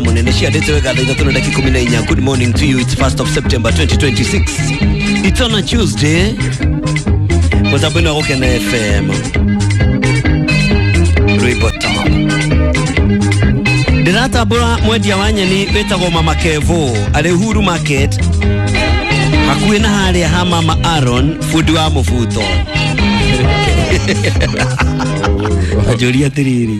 Munene ciandĩte wega thaa ithatũ na dakika ikũmi na inya. Good morning to you. It's 1st of September 2026. It's on a Tuesday. Mũtambo-inĩ wa Gũkena FM, rwĩmbo top. Ndĩratambũra mwendia wa nyeni wĩtagwo Mama Kevo arĩ Uhuru Market hakuhĩ na harĩa ha Mama Aaron, bundi wa mũbuto. Anjũria atĩrĩrĩ,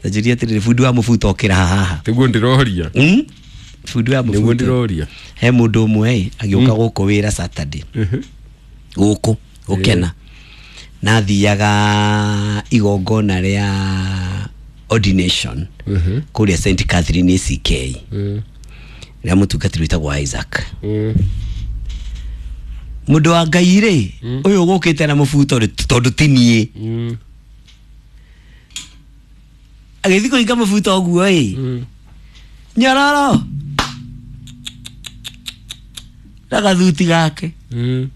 anjũria atĩrĩrĩ, bundi wa mũbuto okĩra haha? Nĩguo ndĩroria. Bundi wa Nĩguo mũbuto. ndĩroria. He mũndũ ũmwe ĩ agĩũka gũkũ wĩra Saturday, gũkũ gũkena, na athiaga igongona rĩa ordination kũrĩa St Catherine ACK rĩa mũtungatĩri wĩtagwo Isaac. Mũndũ wa Ngai rĩ, ũyũ ũgũkĩte na mũbuto rĩ, tondũ ti niĩ, agĩthiĩ kũhinga mũbuto ũguo ĩ, nyororo na gathuti gake. We,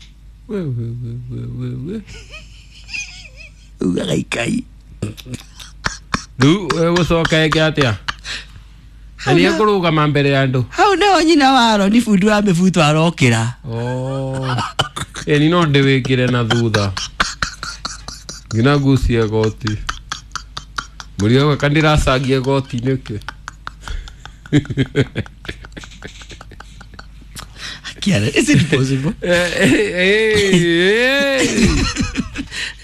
we, we, we, we, we. Ugaga ikai. Rĩu gũcoka ĩngĩ atĩa na nĩ ekũrũgama mbere ya andũ? Hau nĩho nyina wa Aroni bundi wa mĩbuto arokĩra. Oh. Ĩni no ndĩwĩkĩre na thutha ngina ngucie goti mũrigo gwaka ndĩracangia goti nĩkĩ? Kiara, is it possible? Eh, eh, eh, eh.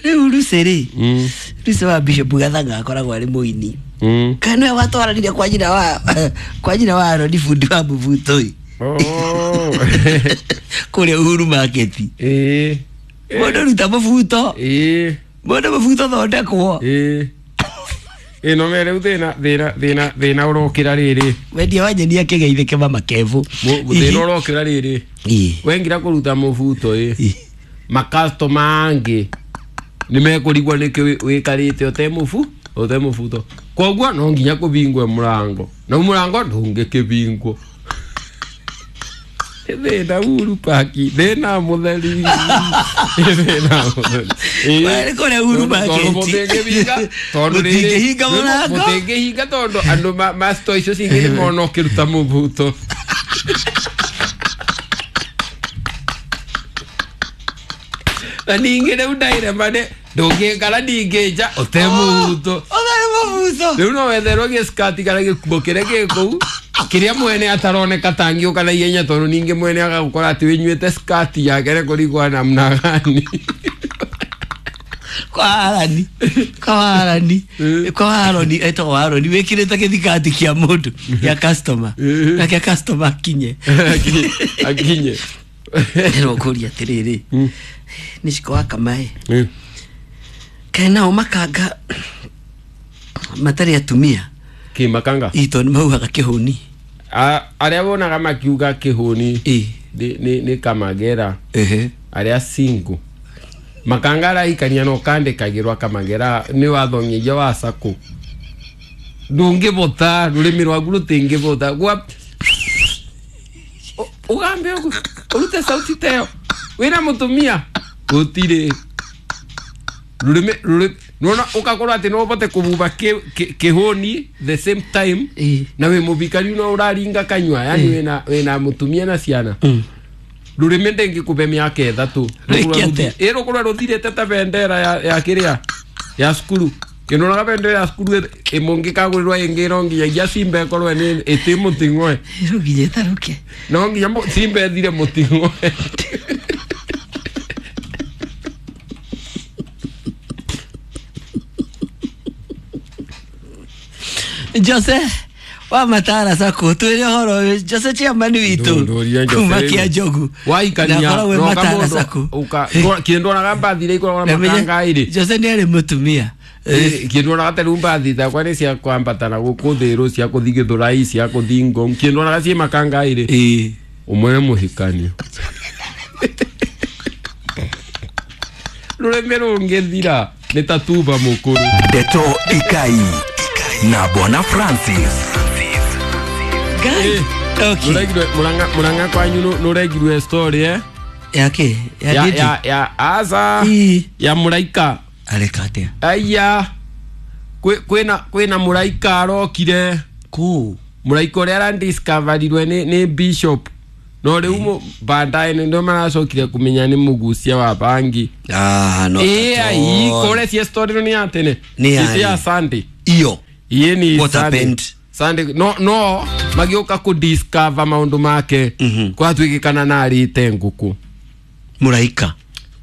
Rĩu Lucy rĩ, Lucy wa Bishop Gathanga akoragwo arĩ mũini. Kana nĩwe watwaranire kwa nyina wa Aroni bundi wa mũbuto ĩ Oh. kũrĩa Uhuru Market. Mũndũ ruta mũbuto. Mũndũ mũbuto thondekwo. Ĩno me rĩu thĩna thĩna thĩna thĩna ũrokĩra rĩrĩ. Wendia wa nyeni akĩgeithĩke Mama Kevo. Thĩna ũrokĩra rĩrĩ, wengira kũruta mũbuto ĩ, makastoma angĩ nĩ mekũrigwo nĩkĩ wĩkarĩte ũte mũbu ũte mũbuto, koguo no nginya kũbingwe mũrango na mũrango ndũngĩkĩbingwo. Nĩ thĩna Uhuru Park, thĩna mũtheri, nĩ thĩna mũtheri. Ĩ. Wee, kũrĩa Uhuru Tondũ Market. Mũtingĩhinga tondũ rĩrĩ- Mũtingĩhinga mũrango. Mũtingĩhinga tondũ andũ ma store icio cingĩ nĩ mona ũkĩruta mũbuto. Na ningĩ rĩu ndairema nĩ ndũngĩkara ningĩ nja ũte mũbuto. Ũtarĩ mũbuto. Rĩu no wetherwo gĩskati kana gĩkuo kĩrĩa gĩ kũu kĩrĩa mwene ataroneka tangĩũka na ihenya, tondũ ningĩ mwene agagũkora atĩ wĩnyuĩte skati yake nĩ kũrigwo namna gani. Kwa Arani, kwa Arani, kwa Aroni, etagwo Aroni, wĩkĩrĩte gĩthikati kĩa mũndũ, gĩa customer, na kĩa customer akinye. Akinye. Ndĩrwo kũria atĩrĩrĩ, nĩ ciko wa kamaĩ kaĩ nao makanga matarĩ atumia? Kĩmakanga. Ĩ, tondũ nĩ maugaga kĩhũni. Arĩa wonaga makiuga kĩhũni nĩ kamagera arĩa single. Makanga araikania no kandĩkagĩrwo kamagera nĩ wathongeria wa sako, ndũngĩbota, rũrĩmĩ rwaku rũtingĩbota gwa ũgambe ũguo ũrute sauti teyo wĩna mũtumia gũtirĩ rũrĩmĩ rũrĩmĩ nona ũgakorwo atĩ no ũbote kũbuba kĩhũni the same time na wĩ mũbikariu no ũraringa kanyua, yani wĩna mũtumia na ciana, rũrĩmĩ ndĩngĩkũbe mĩaka 3. Rĩke atĩa? Ĩ, rũkorwo rũthirĩte ta bendera ya kĩrĩa ya cukuru kĩndonaga bendera ya cukuru ĩmũngĩkagũrĩrwo ĩngĩ no nginyagia simba ĩkorwo nĩ ĩtĩ mũting'oe. No nginya ĩtarũke. No nginya simba ĩthire mũting'oe. Jose wa Matara Sacco, twĩre ũhoro ũyũ, Jose chairman witũ Ndũria Jose kuma rĩu. kĩa Njogu. Waikania Na akoragwo e noka Matara mũndũ Sacco. Kĩndwonaga mbathi iria ikoragwo na Na menye- makanga ĩrĩ. Jose nĩ arĩ mũtumia. Kĩndwonaga ta rĩu mbathi takwa nĩ cia kwambata na gũkũ thĩrũ, cia kũthi Gĩthũrai, cia kũthi Ngong, kĩndwonaga ciĩ makanga ĩrĩ. Ũmwe nĩ mũhikanio, rũrĩmĩ rũngĩthira nĩ ta tuba mũkũrũ. Ndeto Ikai na Bwana Francis. Ngai. Okay. Nũregirwe Mũrang'a kwanyu nũregirwe story eh? Yake ya Ya, Didi. ya aca. Ya mũraika. Areka atĩa? Aya, kwĩna mũraika arokire. Kũ? Mũraika ũrĩa aradiscoverirwe nĩ bishop no rĩu baadaye nĩ maracokire kũmenya nĩ mũgucia wa bangi. Ah, no. Ĩĩ kũrĩa cia story nĩ ya tene. Nĩ ya Sunday. Iyo. Ĩĩ ni what happened? Sunday no magĩũka kũ discover maũndũ make. Kwatuĩkĩkana na arĩte ngũkũ. Mũraika.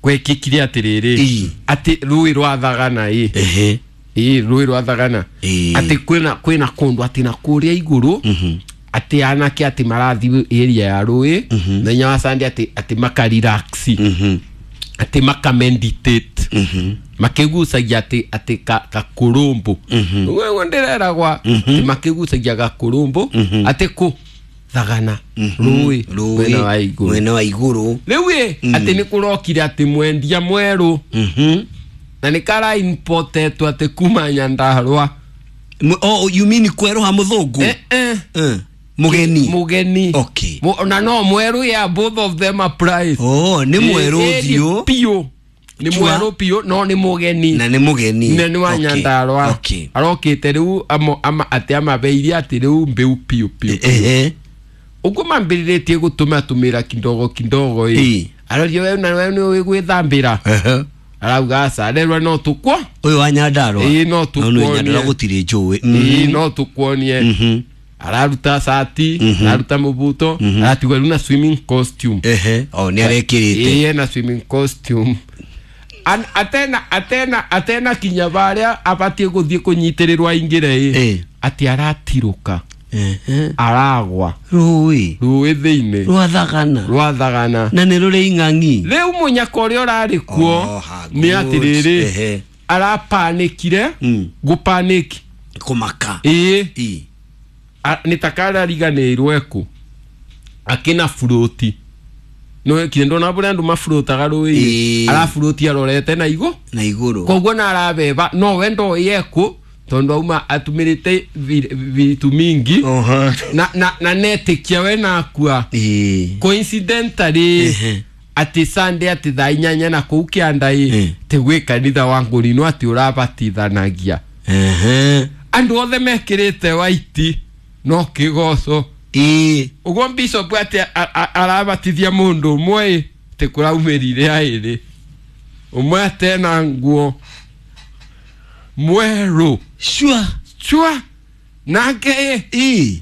Gwekĩkire atĩrĩrĩ atĩ rũĩ rwa Thagana ĩ. Ĩĩ rũĩ rwa Thagana. Atĩ kwĩna kũndũ atĩ na kũrĩa igũrũ. Atĩ anake atĩ marathiĩ area ya rũĩ na wa Sunday atĩ maka relax. Atĩ maka meditate. Makĩgucagia atĩ gakũrũmbũ. Ũguo ndĩreragwa atĩ makĩgucagia gakũrũmbũ atĩ kũ Thagana rũĩ mwena wa igũrũ. Mwena wa igũrũ. Rĩu ĩ atĩ nĩ kũrokire atĩ mwendia mwerũ. Na nĩ kara importetwo atĩ kuma Nyandarua. Oh, you mean kwerũha mũthũngũ? Mugeni. Mugeni. Okay. Na no mwerũ ya both of them are price. Oh, nĩ mwerũ ũthiũ. Piũ. Nĩ mwerũ piũ no nĩ mũgeni. Na nĩ mũgeni. Na nĩ wa Nyandarua. Okay. Arokĩte rĩu atĩ amabeirie atĩ rĩu mbĩu piũ piũ. Ũguo mambĩrĩrĩtie gũtũma tũmĩra kidogo kidogo ĩ. Arorio we na we nĩ gwĩthambĩra. Arauga aca arerwa no tũkwo. Ũyũ wa Nyandarua. Ĩĩ no tũkuonie. No Nyandarua gũtirĩ njũĩ. Ĩĩ no tũkuonie. Araruta sati, araruta mũbuto, aratigwo rĩu na swimming costume. Oh, nĩ arekĩrĩte. Ĩĩ na swimming costume. Atena kinya barĩa abatiĩ gũthiĩ kũnyitĩrĩrwo aingĩre ĩ. Atĩ aratirũka. Aragwa. Rũĩ. Rũĩ thĩinĩ. Rwa Thagana. Rwa Thagana. Na nĩ rũrĩ ing'ang'i. Rĩu mũnyaka ũrĩa ũrarĩ kuo nĩ atĩrĩrĩ arapanikire gũpaniki. Kũmaka. Ĩĩ. Nĩ ta karariganĩirwo ekũ. Akĩna burũti. No kile ndona bũrĩa andũ maburotaga rũĩ. Araburũti arorete na igũ. Na igũrũ. Koguo na arabeba no we ndoĩ ekũ tondũ auma atumĩrĩte vitu mingi. Na netĩkia we nakua. Coincidentally atĩ Sunday atĩ thaa 8 na kũu kĩanda ĩ tĩ gwĩ kanitha wa Ngũrinũ atĩ ũrabatithanagia. Andũ othe mekĩrĩte white no kĩgoco. Ũguo bishop atĩ arabatithia mũndũ ũmwe tĩ kũraumĩrire aĩrĩ. Ũmwe atena nguo mwerũ. Sure. Sure. Nake ĩ.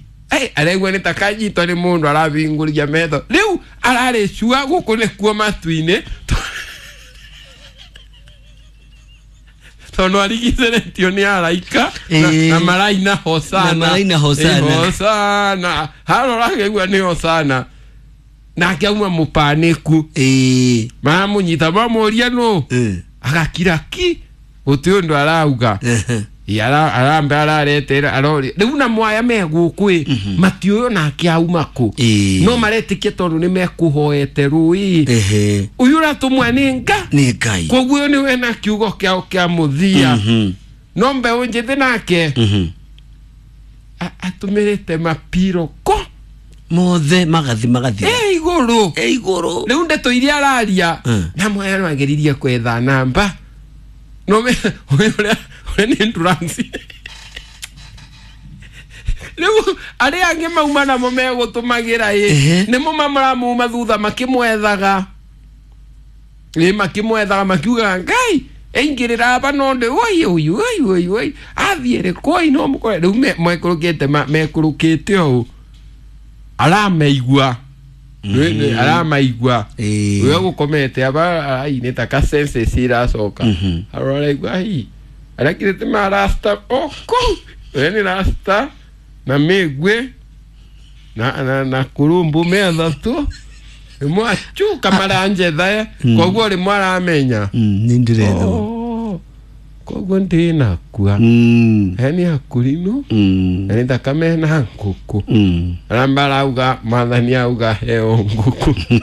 Aregua nĩ ta kanyitwo nĩ mũndũ arabingũria metho. Rĩu ararĩ sure gũkũ nĩkuo matu-inĩ. Tondũ arigicĩrĩtio nĩ araika na maraina hosana. Na maraina hosana. Hosana. Harora akĩigua nĩ hosana. Nake auma mũpanĩku. Maramũnyita mamũria nũ. Agakira ki. Gũtirĩ ũndũ arauga. Arambe araretera aroria. Rĩu na mwaya me gũkũ ĩ matiũĩ onake auma kũ. No maretĩkia tondũ nĩ mekũhoete rũĩ. Ũyũ ũratũmwa nĩ nga. Nĩ Ngai. Koguo ũyũ nĩwe na kiugo kĩao kĩa mũthia. No mbeũ njĩthĩ nake atũmĩrĩte mapiro ko mothe magathi. Igũrũ. Igũrũ. Rĩu ndeto iria araria na mwaya no ageririe kwetha namba. No me ũrĩa nĩ endurance. Rĩu arĩa angĩ mauma namo megũtũmagĩra ĩ nĩmo maramuma thutha makĩmwethaga. Ĩ makĩmwethaga makiugaga Ngai aingĩrĩra aba no ndĩ oi oi oi oi oi athiĩre koi no mũkore. Rĩu mekũrũkĩte mekũrũkĩte ũũ arameigua. Aramaigua. Ũrĩa gũkomete aba ai nĩ ta ka senses iracoka. Aroraigua ai arakirĩte marasta oko. Ũrĩa nĩ rasta na mĩgwe na kũrũmbũ methatũ. Rĩmwe acuka maranjetha koguo rĩmwe aramenya. Nĩ ndĩrethwo. Koguo ndĩnakua. He nĩ akũrinũ. Na nĩ thakame na ngũkũ. Aramba arauga mwathani auga heo ngũkũ.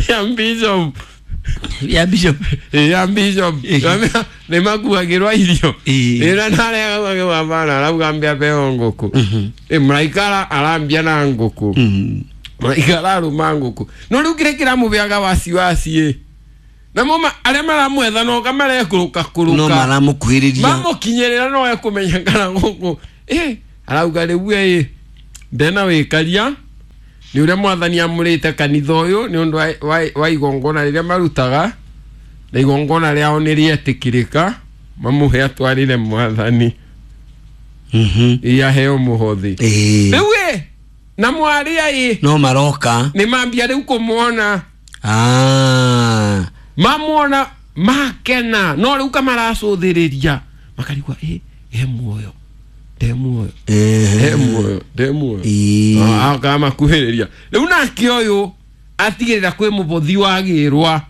Ya bishop. Ya bishop. Ya bishop. Nĩ makuagĩrwo irio. Ĩra narega gwabana arauga mbia heo ngũkũ. Mũraikara arambia na ngũkũ. Mũraika ararũma ngũkũ. No rĩu kĩrĩa kĩramũbeaga wasiwasi na moma arĩa maramwetha no kamarekũrũka kũrũka. No maramũkuhĩrĩria. Mamũkinyĩrĩra no ekũmenya kana ngũkũ. Arauga rĩu ndena wĩkaria nĩ ũrĩa mwathani amũrĩte kanitha ũyũ nĩ ũndũ wa igongona rĩrĩa marutaga na igongona rĩao nĩ rĩetĩkĩrĩka mamũhe atwarĩre mwathani. Aheo mũhothi. Rĩu na mwarĩa no maroka nĩ mambia rĩu kũmuona. Mamuona makena no rĩu kamaracũthĩrĩria makarigwa he muoyo nde muoyo he muoyo nde muoyo akamakuhĩrĩria rĩu nake ũyũ atigĩrĩra kwĩ mũbothi wagĩrwa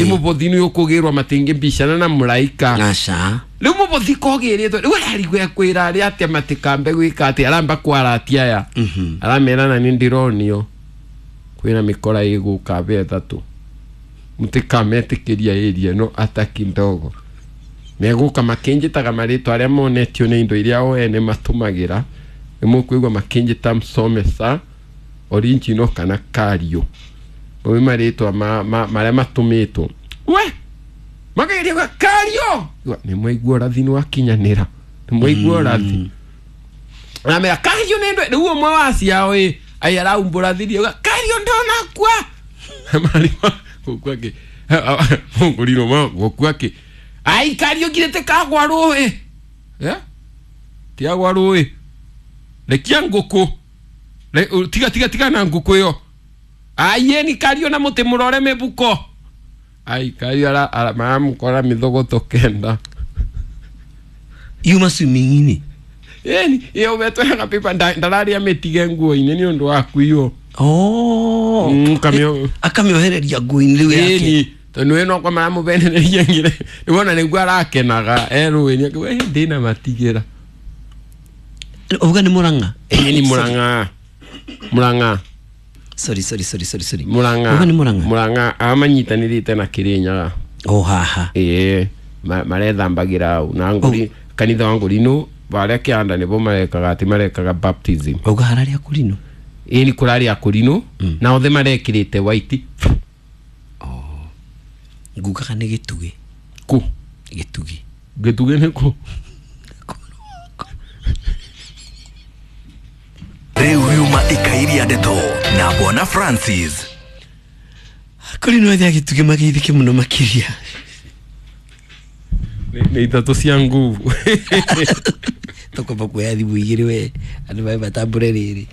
mũbothi nĩ ũkũgĩrwa matingĩmbicana na mũraika. Aca. Rĩu mũbothi kogĩrĩtwo rĩu ararigwo ekwĩra arĩa atĩa matikambe gwĩka atĩ aramba kwaratia aya aramera na nĩ ndĩronio kwĩna mĩkora ĩgũka mbe ĩtatũ mũtikametĩkĩria ĩria no ataki ndogo megũka makĩnjĩtaga marĩtwa arĩa monetio nĩ indo iria o ene matũmagĩra nĩ mũkũigua makĩnjĩta msomesa original kana kario mau marĩtwa marĩa matũmĩtwo we makageria kuga kario nĩ mwaigua ũrathi nĩ wakinyanĩra nĩ mwaigua ũrathi namera kario nĩ ndwe rĩu ũmwe wa ciao ai araumbũra thiri auga kario ndonakua marima gũkua kĩ mũngũrirwo gũkua kĩ ai kario ngirĩte kagwa rũĩ tiagwa rũĩ rekia ngũkũ tiga tiga tiga na ngũkũ ĩyo ai ni kario na mũtĩ mũrore mĩbuko ai kario maramũkora mĩthogoto 9 yuma swimming-inĩ ĩni ĩyo wetwega pipa ndararia mĩtige nguo-inĩ nĩ ũndũ wa kuiywo. Akamĩohereria nguo-inĩ rĩu yake tondũ ĩno kwa maramũbenereria ngire nĩwona nĩguo arakenaga erũĩ akiuga ndĩna matigĩra. Uga nĩ Murang'a? Ĩni Murang'a. Murang'a. Sorry. Murang'a. Uga nĩ Murang'a? Murang'a amanyitanĩrĩte na Kĩrĩnyaga. Haha. Marethambagĩra hau na ngũri kanitha wa Ngũrinũ barĩa kĩanda nĩbo marekaga atĩ marekaga baptism. Uga hararĩa Kũrinũ? Ĩni kũrarĩa Kũrinũ na othe marekĩrĩte white. Ngugaga nĩ Gĩtugĩ. Kũ? Gĩtugĩ. Gĩtugĩ nĩ kũ? Rĩu yuma ikairia ndeto na Bwana Francis. Kũrinũ othe a Gĩtugĩ mageithĩke mũno makĩria. Nĩ ithatũ cia nguvu. Tũkwamba kuoya thimũ igĩrĩ we andũ mabe matambũre rĩrĩ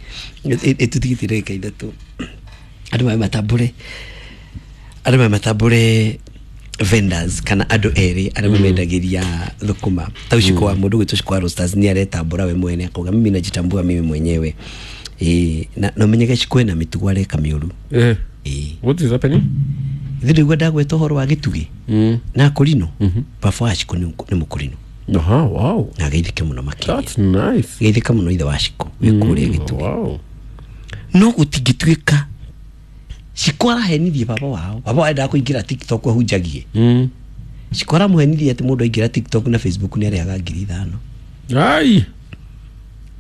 ĩtũtigĩtie ndagĩka ithatũ andũ mabe matambũre andũ mabe matambũre vendors kana andũ erĩ arĩa mamendagĩria thũkũma ta ũciko wa mũndũ gwĩtwo Shiko wa Roasters nĩ aretambũra we mwene akauga mimi najitambua mimi mwenyewe na ũmenyeke Shiko ena mĩtugo areka mĩũru. What is happening? Ithuĩ ndĩgua ndagweta ũhoro wa Gĩtugĩ na Kũrinũ baba wa Shiko nĩ Mũkũrinũ. Wow. Na geithĩke mũno makĩria. That's nice. Geithĩka mũno ithe wa Shiko wĩ kũrĩa Gĩtugĩ. Wow. No gũtingĩtuĩka Shiko arahenirie baba wao. Baba wao endaga kũingĩra TikTok ahunjagie. Shiko aramũhenirie atĩ mũndũ aingĩra TikTok na Facebook nĩ arĩhaga 5,000. Ai.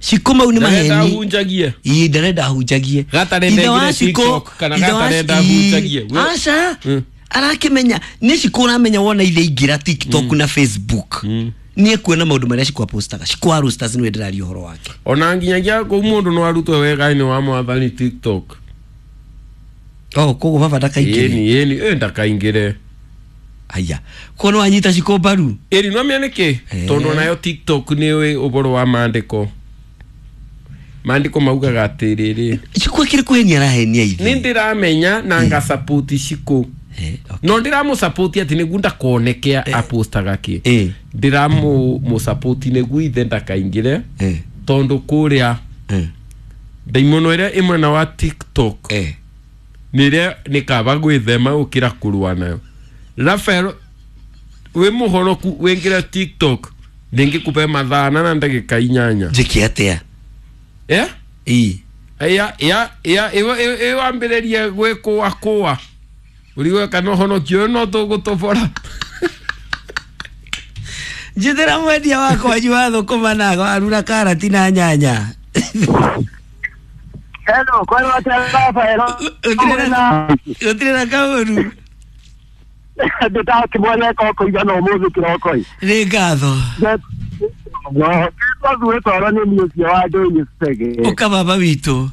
Shiko mau nĩ maheni. Ndarenda ahunjagie. Ii ndarenda ahunjagie. Gatarenda aingĩre TikTok kana gatarenda ahunjagie. Aca. Arakĩmenya nĩ Shiko ũramenya wona ithe aingĩra TikTok na Facebook. Nĩ ekuona maũndũ marĩa Shiko apostaga. Shiko wa Roasters nĩwe ndĩraria ũhoro wake. Ona nginyagia kũu mũndũ no arutwo wega-inĩ wa mwathani TikTok. Koguo baba ndakaingĩre. Ĩni ndakaingĩre. Aya. Koguo nĩ wanyita Shiko mbaru? Ĩni no menya nĩkĩ? Tondũ onayo TikTok nĩ ũhoro wa maandĩko. Maandĩko maugaga atĩrĩrĩ. Shiko akĩrĩ kũhenia arahenia ithe. Nĩ ndĩramenya na ngasupport Shiko. No ndĩramũsupport atĩ nĩguo ndakoneke apostaga kĩ. Ndĩramũsupport nĩguo ithe ndakaingĩre tondũ kũrĩa ndaimono ĩrĩa ĩ mwena wa TikTok nĩrĩa nĩ kaba gwĩthema gũkĩra kũrũa nayo. Rafael wĩ mũhoroku wĩingĩre TikTok ndĩngĩkũhe mathaa na ndagĩka 8. Njĩke atĩa? Ya ĩwambĩrĩrie gwĩkũa ũrigwe kana ũhonokio ũyũ no tũgũtobora. Njĩthĩra mwendia wakwa wanyu wa thũkũma na warura karati na nyanya. Hello, kwani watarafa Gũtirĩ na kaũru. Ndĩtakĩmwene koko igana ũmũthĩ kĩroko-ĩ. Nĩ ngatho. No, twathure twara nĩ niĩ ũcio wa Ndũnyũ Cege. Ũka baba witũ.